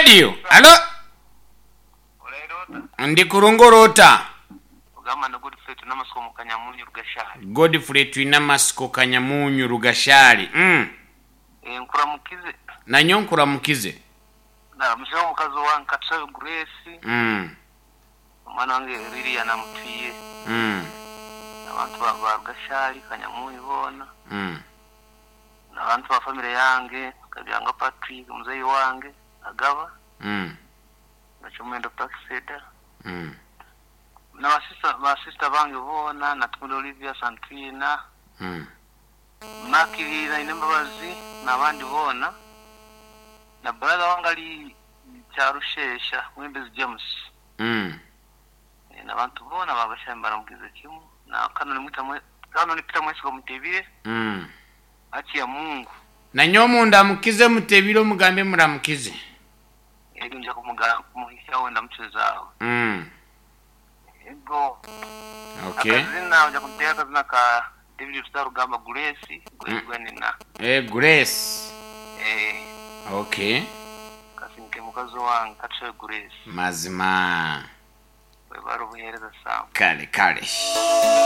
Radio. Alo? Ndi kurungi ori ota? Ogamba ni Godfrey Twinamasiko omu Kanyamunyu Rugashari. Godfrey Twinamasiko Kanyamunyu Rugashari. Mm. Eh, nkuramukize. Nanyowe nkuramukize. Naramukizeho omukazi owange Katushabe Grace. Mm. Omwana wange Lilian Amutwiire. Mm. Abantu ba ba Rugashari Kanyamunyu boona. Mm. N'abantu ba famire yange Kabyanga Patrick muzeeyi wange Agaba. Mm. Na Kyomwendo Praxeda. Mm. Na ba sister ba sister bange boona Natumire Olivia, Santrina, Mm. Makirira Ainembabazi n'abandi boona. Na brother wange ari Kyarushesha Mwembezi James. Mm. Eh, n'abantu boona babashaba mbaramukize kimwe. Na Canon Mwita Mwe Canon Peter Mwesigwa Mutebile Mm. haki ya Mungu. Nanyowe mundamukize Mutebile omugambe muramukize. Ego nja kumuga kumuhikyaho ndamucuzaho. Mm. Ego. Okay. Akazina oja kunteeka akazina ka David Rutarugamba Grace Mm. Gwenina. Eh, Grace. Eh, Okay. kasinke mukazi wange Katushabe Grace. Mazima. Webare obuheereza Sam. Kale kale.